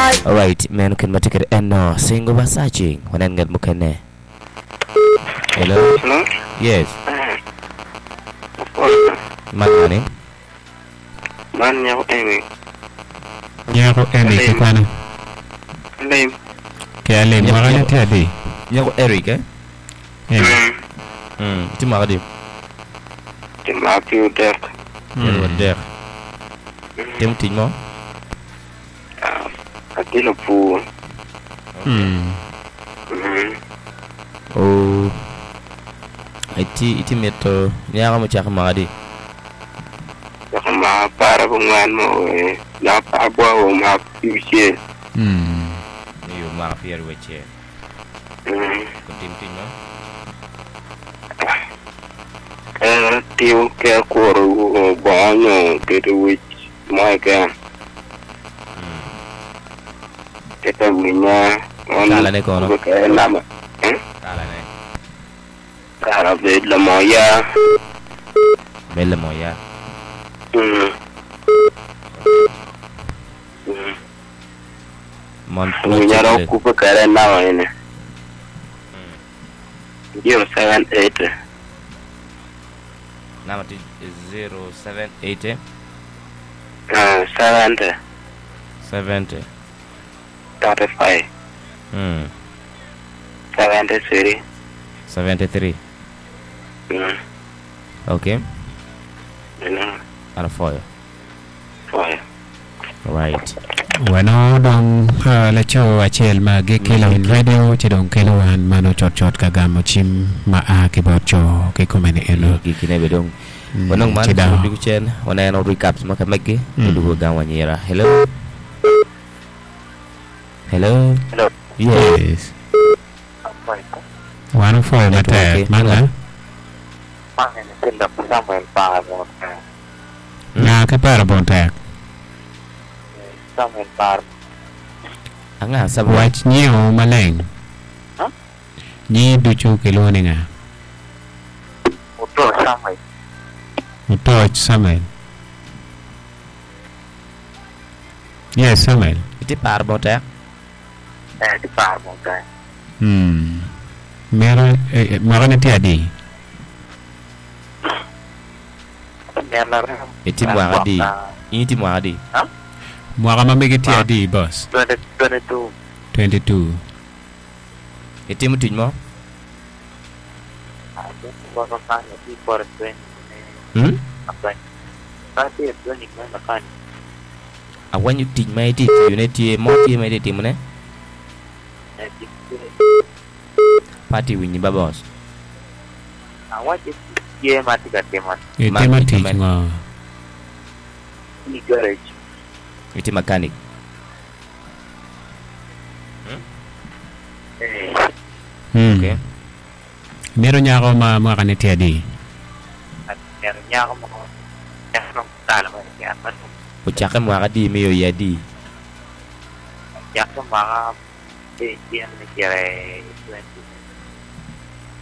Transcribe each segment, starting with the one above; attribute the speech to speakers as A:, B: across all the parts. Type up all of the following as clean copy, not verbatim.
A: Alright, meno kit ma tye kwede eno. Singo Versace, wanen ngat mukene. Hello?
B: Hello?
A: Yes.
B: Eh, apwoyo.
A: Man ngani?
B: Man nyako Amy.
C: Nyako Amy ki kwana.
B: Alim.
C: Ki alim. Mwaka ne tye adi?
A: Nyako Eric eh?
C: Amy.
B: Mm.
A: Mm, tye mwaka adi?
B: Tye mwaka pyeradek.
A: Pyeradek. Timo tic mo?
B: Ah, atye lapur.
C: Mm.
B: Mm.
A: Oh. Iti iti mito nyako mucako mwaka adi?
B: Nyako mwaka aparabongwen mo wee, nyako aparaboro mwaka pyerabicel.
C: Mm.
A: Iyo, mwaka pyerabicel.
B: Mm.
A: Otim tic mo?
B: En atiyo ki akuro bongo nyo keto wic mo keken. Tye ka winya
A: Kalane kono?
B: Namba.
A: Kalane.
B: Kara bed lamoya.
A: Bed lamoya.
B: Mm. Mm.
A: Mon
B: Winya dok kubbe kwede namba eni. 078.
A: Namba tye 078.
B: Uh, 70.
A: 70.
B: 35.
A: Mm.
B: 73.
A: 73.
B: Mm.
A: Okay.
B: Eno.
A: Arafoyo.
B: Foyo.
A: Right.
C: Wanongo dong uh, laco acel ma agikki lawiny radio ci dong kelo wan mano cutcut ka gamo cim ma a ki bot co kikome-ni eno.
A: Gikine be dong
C: Mm,
A: wanong man
C: ci dok.
A: dugu cen waneno recaps ma ka meggi
C: Mm.
A: dugu gang wanyira. Hello. Hello.
B: Hello.
A: Yes.
C: Yes. Wan opwoyo matek.
A: Network.
C: Man nga?
B: Man eni tye lok Samuel Paro Bontek.
C: Nga ki Paro Bontek?
B: Samuel Paro.
A: Anga Samuel?
C: Wac nyingo maleng.
B: Huh?
C: Nyingi ducu kilwongo ni nga?
B: Otoc Samuel.
C: Otoc Samuel. Yes, Samuel.
A: Itye paro Bontek?
B: Eh, itye paro Bontek.
C: Hmm. Mito, eh, eh, mwaka ne tye adi?
A: Itye mwaka adi? In itye mwaka adi?
C: Mwaka ma megi tye adi, boss?
B: 22.
C: 22.
A: Itimo tic mo? Hmm? Awanyo tic ma itye tiyone tye mo tye ma itye timone? Pe atye winyi ba boss.
B: Awacci tic tye ma atye ka timone.
C: Itimo tic ngo?
B: I garage.
A: Itye mechanic.
C: Hmm.
A: Okay.
C: Imito nyako ma mwakane tye adi?
B: Amito nyako mo nyako kala mo keken ma nongo.
A: Ocakke mwaka adi miyo iye adi?
B: Ocakke mwaka 18 me cito i 20.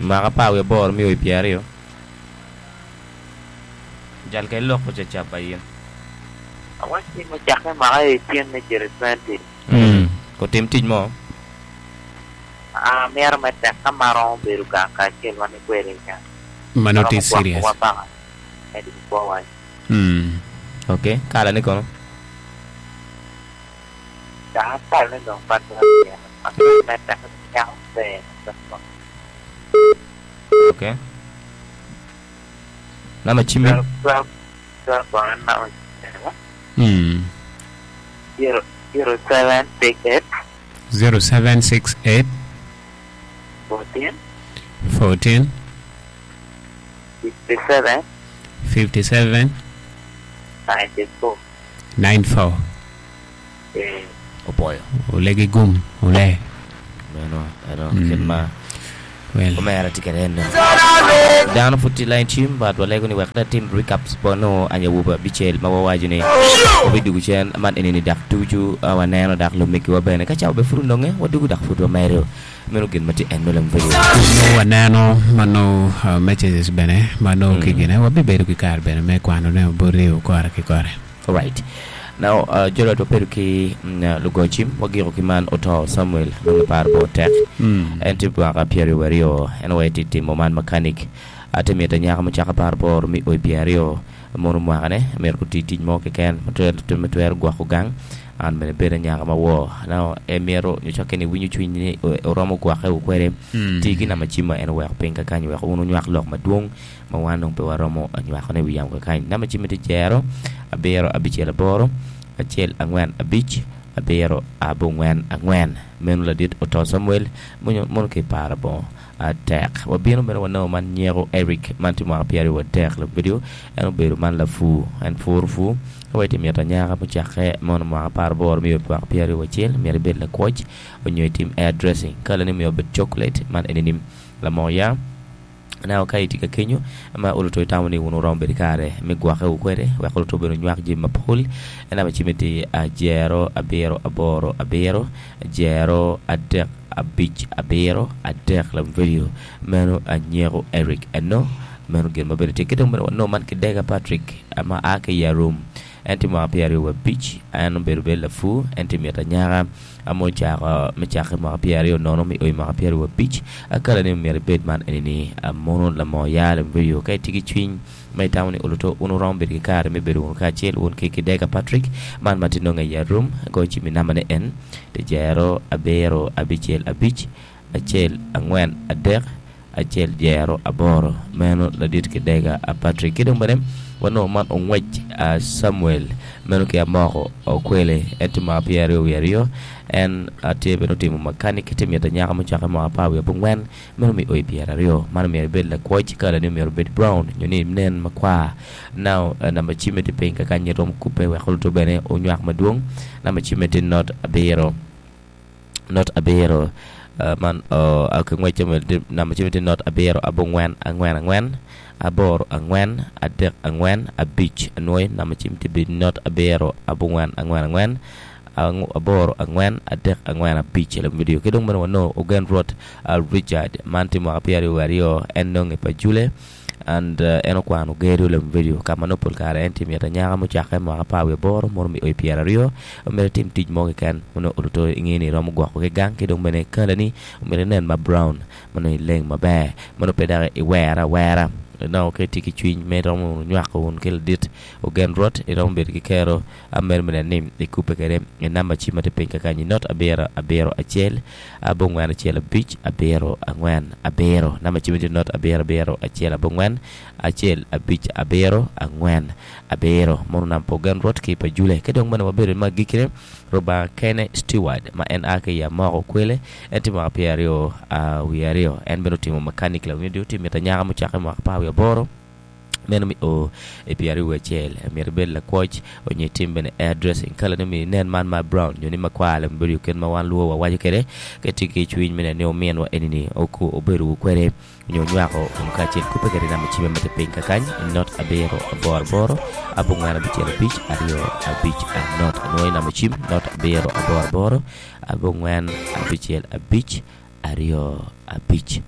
A: Mwaka apar wiye aboro miyo i pyeraryo. Jal ka iloko cacap ba in.
B: Awacci ni ocakke mwaka 18 me cito i 20.
A: Mm. Otim tic mo.
B: Aa, mito me tek ka ma romo bedo gang kacel wa ni kwede nya.
C: Ma nongo tye
B: Romo gwoko
C: serious.
B: wa paka medo ki kwo wa.
C: Mm.
A: Ok, kala ni kono.
B: Dok akalo ni dong pe atwero tiro. Amito me tek ka nyako maber ma
A: Ok. Namba cimmi.
B: Twero twero kono namba cimmi.
C: Mm.
B: 0 07 68
C: 0768
B: 14
C: 14
B: 57
C: 57
B: 94.
C: 94.
B: Eh.
A: Opwoyo.
C: Olegi gum ole.
A: Meno eno
C: Mm.
A: kit ma
C: Well.
A: omera tye kwede eno. Dano pud tye line cim but walego ni wek latim recaps bot nongo anyawobe abicel ma wawaco ni wabidugo cen man eni ni dak tucu ah, waneno dak lumegiwa bene ka cawa bene pud ononge wadugo dak pud wamedo meno gin ma tye en me lem video.
C: Nongo waneno ma nongo uh, messages bene ma nongo ki gine wabibedo ki kare bene me kwanone boti kore ki kore.
A: Alright. Now, Gerald wabedo ki lugo cim, wagiko ki man oto Samuel nongo paro bor tek. En tye mwaka 22, en aye tye timo man makanik. Ate mito anyaka mucako apar boro mi oi 20 mono mwakane, myero guti tic mo keken ma twero gwoko gang. An bene bedo anyaka ma wor. Now, en myero nyo cakke ni winyo cwiny ni oromo gwokke wu kwede. Ti ki namba cim ma en oweko piny kakany wek wun wunywak lok madwong ma wan dong pe waromo nywakone i wi yamo kakany. Namba cimme tye jero, abiro, abicel, aboro, acel, angwen, abic, abiro, abongwen, angwen. Meno ladit oto Samuel, mono ki paro bongo tek. Wabino bene wanongo man nyeko Eric man tye mwaka 23 labedo en obedo man lapur, en puro pur. Ka wa itye mito anyaka mucakke mono mwaka 18 miyo mwaka 21 myero ibed lakwoc onyo itim hair dressing. Kala ni myero obed chocolate man eni ni lamok ya. Naka ka itye ka kenyo ma oluto itamo ni wun wuromo bedo ki kare me gwokke wu kwede wek oluto bene onywak jami mapol, namba cimme tye jero abiro aboro abiro jero adek abic abiro adek lamvedio meno anyeko Eric eno meno gin ma bedo tye ki dong bene wanongo man Kidega Patrick ma a ki i Arum en tye mwaka 25 en obedo bene lapur en tye mit anyaka. Ma ocako me cakke mwaka 20 nono me o i mwaka 25, akala ni myero ibed man eni ni mono lamoo ya lamveyo. Ka itye ki cwiny ma itamo ni oluto wun wuromo bedo ki kare me bedo wunu kacel wun ki Kidega Patrick man ma tye nonge i Arum, go cim i namba ne en te jero abiro abicel abic acel angwen adek acel jero aboro. Meno ladit Kidega Patrick. Ki dong bene wanongo man ongwec Samuel meno ki Amoko Okwele en tye mwaka 22 en tye bene otimo makanik tye mito anyaka mucakke mwaka 19 meno mi oi 20 man omyero ibed lakwoc kala ni omyero obed brown nyo ni nen makwar. Now namba cimme tye piny kakany romo kubbe wek oluto bene onywak madwong namba cimme tye not abiro. Not abiro man ok ngwec namba cim tye not abiro abongwen angwen angwen aboro angwen adek angwen abic anwoyo namba cim tye bed not abiro abongwen angwen angwen aboro angwen adek angwen abic leb vidio ki dong bene wanongo ogen rwot Richard man tye mwaka 22 en nonge pa Jule And en okwano gedo lem vedio ka ma nongo pol kare en tye myero anyaka mucakke mwaka 18 mono mi oyo 20 omyero itim tic mo keken ma nongo oluto inge ni iromo gwoko ki gang ki dong bene kalani omyero inen ma brown ma nongo ileng maber ma nongo pe dok iwere awera nongo ka itye ki cwiny ma iromo nywako wun ki ladit ogen rwot iromo bedo ki kero mere me neno ni ikubbe kwede i namba cim ma tye piny kakany not abiro abiro acel abongwen acel abic abiro angwen abiro. Namba cim tye not abiro abiro acel abongwen acel abic abiro angwen abiro. Mono namba pa Ogen Rwot ki pa Jule. Ki dong bene wabedo ma agikine Rubanga Kene Steward ma en a ki i Amoko Kwele. En tye mwaka 22 wiye aryo. En bene otimo makanik lawinyo tye mito anyaka mucakke mwaka 18. Meno mi o i 21 myero ibed lakwoc onyo itim bene hair dressing. Kala ni myero inen man ma brown nyo ni makwar lem bedo kit ma wan luo wa waco kwede. Ka itye ki cwiny me neno ni ominwa eni ni oku obedo wu kwede nyo onywako wunu kacel kubbe kwede namba cimme ma tye piny kakany not abiro aboro aboro abongwen abicel abic aryo abic not anwoyo namba cim not abiro aboro aboro abongwen abicel abic aryo abic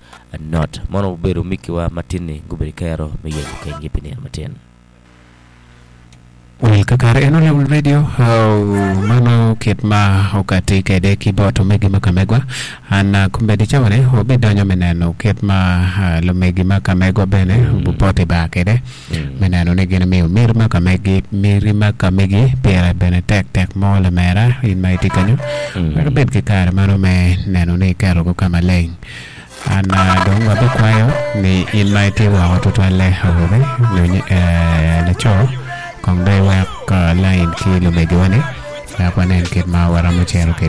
A: not. Mono obedo omikiwa matin-ni gubedo ki kero me yenyo kenygi pi nino matin.
C: Wel kakare en olewul radio mano kit ma okati kede ki bot omegi ma kamegwa an kombeddi cawa-ni wabidonyo me neno kit ma lumegi ma kamegwa bene gupot i bar kede me neno ni gin imiyo miti ma kamegi miti ma kamegi pire bene tek tek mo lamera in ma itye kenyo wek ibed ki kare meno me neno ni iketo go ka maleng. An dong wabikwayo ni in ma itye woko tutwalle awobi nyo laco kong dong iwek lain ki lumegiwa-ni wek wanen kit ma waromo cito kwede.